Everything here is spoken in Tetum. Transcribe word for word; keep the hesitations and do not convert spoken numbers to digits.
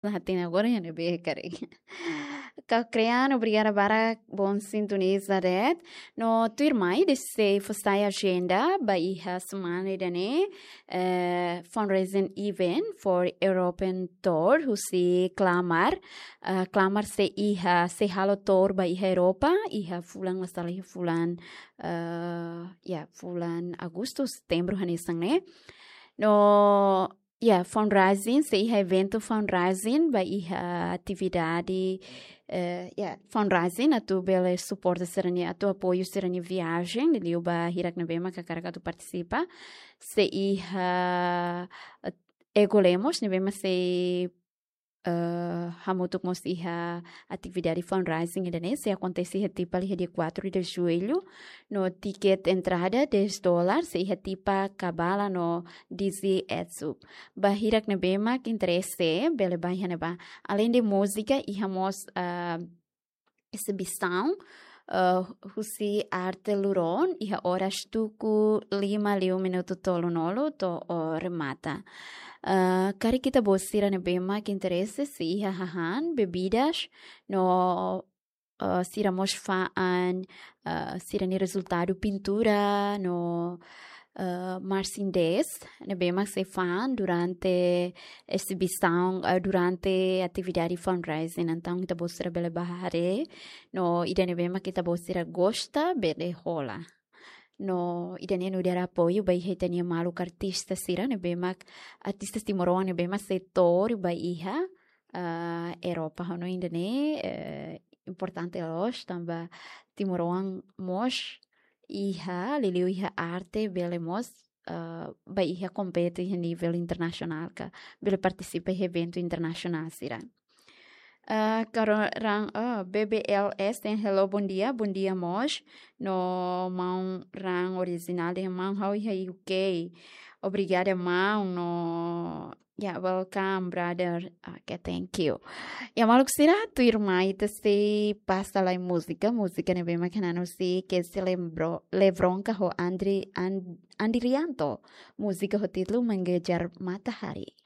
Hatene agora iha ne'ebé karik. Kau Krean, obrigada barak, bom sintoniza de'it. No tuirmai, desde fosai agenda ba iha semana ida-ne'e, eh, fundraising event for European Tour, husi Klamar. Eh, Klamar sei iha, sei halo tour ba iha Europa, iha fulan, la sala iha fulan, eh, ya, fulan Agostu, Setembru hanesan ne'e. No, ya, fundraising, sei iha eventu fundraising, ba iha atividade, eh, ya, fundraising, atu bele suporta sira-nia, atu apoiu sira-nia viajen, liuliu ba hirak ne'ebé mak hakarak atu partisipa, sei iha, eh, Ego Lemos, ne'ebé mak sei, eh, hamutuk mós iha atividade fundraising ida-ne'e, sei akontese iha Tipa iha dia quatro de julho, no tiket entrada dez dólar, sei iha Tipa, Kabala no Dizzy Etsu. Ba hirak ne'ebé mak interese, bele bá iha ne'ebá. Além de múzika, iha mós, ah, exibisaun, eh, husi arte luron, iha oras tuku lima liu minutu tolunulu to'o remata. Eh, karik ita-boot sira ne'ebé mak interese, sei iha hahán, bebidas, no, eh, sira mós fa'an, eh, sira-nia rezultadu pintura, no, eh, marchinha dez, ne'ebé mak sei fa'an durante exibisaun, eh, durante atividade fundraising. Entaun, ita-boot sira bele bá haree, no ida ne'ebé mak ita-boot sira gosta, bele hola. No ida-ne'e nu'udar apoiu ba iha ita-nia maluk artista sira, ne'ebé mak artista timoroan ne'ebé mak sei tour ba iha, ah, Europa. Ha'u hanoin ida-ne'e, eh, importante loos, tanba timoroan mós iha, liuliu iha arte, bele mós, eh, bá iha kompete iha nivel internasionál ka, bele partisipa iha eventu internasionál sira. Eh, Karo Ran, eh, B B L S, hello, bom dia, bom dia mós. No maun Ran orijinál dehan maun ha'u iha U K. Obrigada, maun, no, ya, welcome, brother. Ok, thank you. Ya, maluk sira, tuirmai ita sei pasa lai múzika, múzika ne'ebé mak hanesan husi Kesi Lembro-, Lebronka ho Andri, An-, Andrianto. Múzika ho títulu Mengejar Matahari.